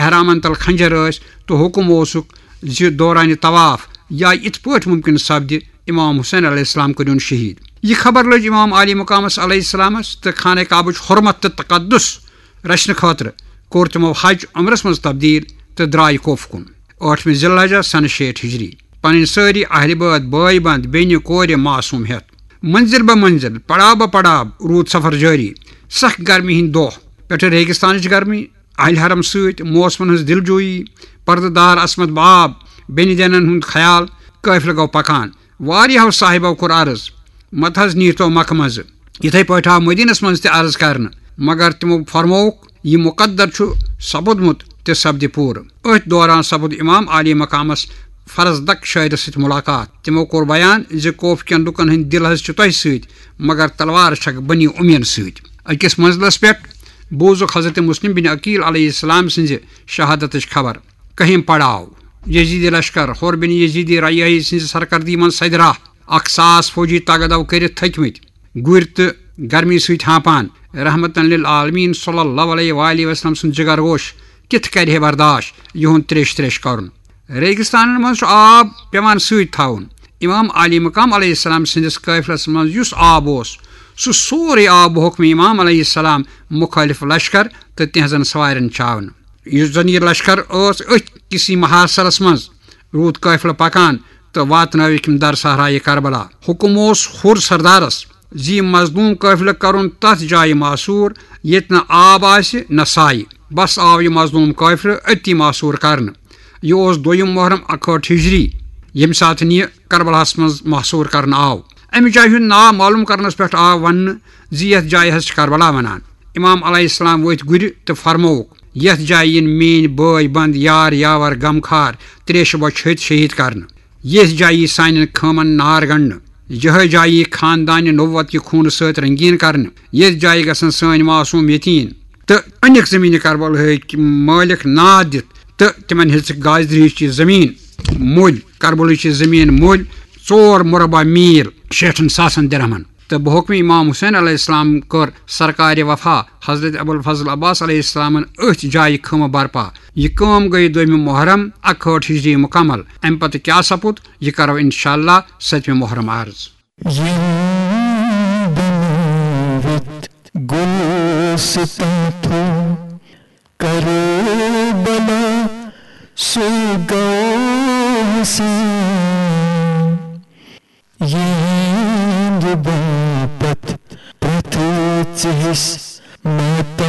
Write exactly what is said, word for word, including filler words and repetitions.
حرامن تل خنجر ٲسۍ، تہٕ حکم اوسُکھ زِ دوران طواف یا یِتھ پٲٹھۍ ممکن سپدِ، امام حسین علیہ السلام کٔرِن شہید۔ یہِ خبر لٔج امام عالی مقامس علیہ السلامس تہٕ خانہ کعبٕچ حرمت تہٕ تقدس رچھنہٕ خٲطرٕ کوٚر تِمو حج عمرس منٛز تبدیل تہٕ درٛاے کوفہٕ کُن۔ ٲٹھمہِ ذی الحجہ سنہٕ شیٹھ ہجری، پنٕنۍ سٲری اہلِ بٲتۍ، بٲے بنٛد، بیٚنہِ، کورِ معصوم ہٮ۪تھ۔ منزل بہ منزل، پڑاو بہ پڑاو روٗد سفر جٲری۔ سخ گرمی ہٕنٛدۍ دۄہ، پٮ۪ٹھٕ ریگستانٕچ گرمی، اہلِ حرم سۭتۍ موسمن ہٕنٛز دلجویی، پردٕ دار عصمت باب، بیٚنہِ دینن ہُنٛد خیال۔ قٲفلہٕ گوٚو پکان۔ واریاہو صاحبو کوٚر عرض، مت حظ نیٖرتو مکہ منٛزٕ۔ یِتھے پٲٹھۍ آو مدینس منٛز تہِ عرض کرنہٕ، مگر تِمو فرمووُکھ، یہِ مقدر چھُ سپُدمُت تہِ سپدِ پوٗرٕ۔ أتھۍ دوران سپُد امام عالی مقامس فرزدق شٲعرس سۭتۍ ملاقات۔ تِمو کوٚر بیان زِ کوفہٕ کٮ۪ن لوٗکن ہٕنٛدۍ دِل حظ چھِ تۄہہِ سۭتۍ، مگر تلوار چھکھ بنی امیین سۭتۍ۔ أکِس منزلس پٮ۪ٹھ بوٗزُکھ حضرت مسلم بن عقیل علیہ السلام سٕنزِ شہادتٕچ خبر۔ کٔہِم پڑاو، یزیدی لشکر، حر بن یزیدی رعیہی سٕنزِ سرکردگی منز سدِ راہ۔ اکھ ساس فوجی تگدو کٔرِتھ تھٔکۍ مٕتۍ، گُرۍ تہٕ گرمی سۭتۍ ہانپان۔ رحمتن للعالمین صلی اللہ علیہ وآلہ وسلم سُنٛد جگر گوش کِتھ کرِ ہے برداشت یِہُنٛد تریش تریش کرُن؟ ریگستانن منٛز چھُ آب پٮ۪وان سۭتۍ تھاوُن۔ امام عالی مقام علیہ السلام سٕنٛدِس قٲفلس منٛز یُس آب اوس، سُہ سورُے آو بحکم امام علیہ السلام مخٲلف لشکر تہٕ تِہنٛزن سوارٮ۪ن چاونہٕ۔ یُس زن یہِ لشکر ٲس، أتھۍ کِسی محاصرس منٛز روٗد قٲفلہٕ پکان تہٕ واتنٲوِکھ یِم در صحرایہِ کربلا۔ حُکم اوس حُر سردارس زِ یہِ مظلوم قٲفلہٕ کرُن تتھ جایہِ محصوٗر، ییٚتہِ نہٕ آب آسہِ نہ سایہِ۔ بس آو یہِ مظلوم قٲفلہٕ أتی محصوٗر کرنہٕ۔ یہِ اوس دوٚیِم محرم اکہٲٹھ ہجری، ییٚمہِ ساتہٕ یہِ کربلاہس منٛز محصوٗر کرنہٕ آو۔ امہِ جایہِ ہُنٛد ناو معلوم کرنس پٮ۪ٹھ آو وننہٕ زِ یتھ جایہِ حظ چھِ کربلا ونان۔ امام علیہ السلام ؤتھۍ گُرِ تہٕ فرمووُکھ، یتھ جایہِ یِن میٲنۍ بٲے بند، یار یاور، غمخار، تریشہِ بۄچھِ ہتۍ شہید کرنہٕ۔ یتھ جایہِ یی سانٮ۪ن خٲمن نار گنڈنہٕ۔ یہے جایہِ یی خاندانِ نبوت کہِ خوٗنہٕ سۭتۍ رنگین کرنہٕ۔ یتھ جایہِ گژھن سٲنۍ معصوم یتیٖم تہٕ انِکھ زمینِ کربلہٕکۍ مٲلک ناد دِتھ تہٕ تِمن ہیژٕکھ گازرِہٕچ یہِ زمین مٔلۍ، کربلٕچ یہِ زمین مٔلۍ ژور مربع میل شیٹھن ساسن درہمن۔ تہٕ بحکم امام حسین علیہ السلام کٔر سرکارِ وفا حضرت ابوالفضل عباس علیہ السلامن أتھۍ جایہِ خٲمہٕ برپا۔ یہِ کٲم گٔیہِ دوٚیمہِ محرم اکہٲٹھ ہجری مکمل۔ امہِ پتہٕ کیٛاہ سپُد، یہِ کرو انشاءاللہ ستمہِ محرم عرض۔ یِم بنٲوِتھ گُلستان تھوٚو کربلا، سُے گوٚو حسین۔ یِہِنٛدِ باپتھ پرٛٮ۪تھ ژِہِس ماتم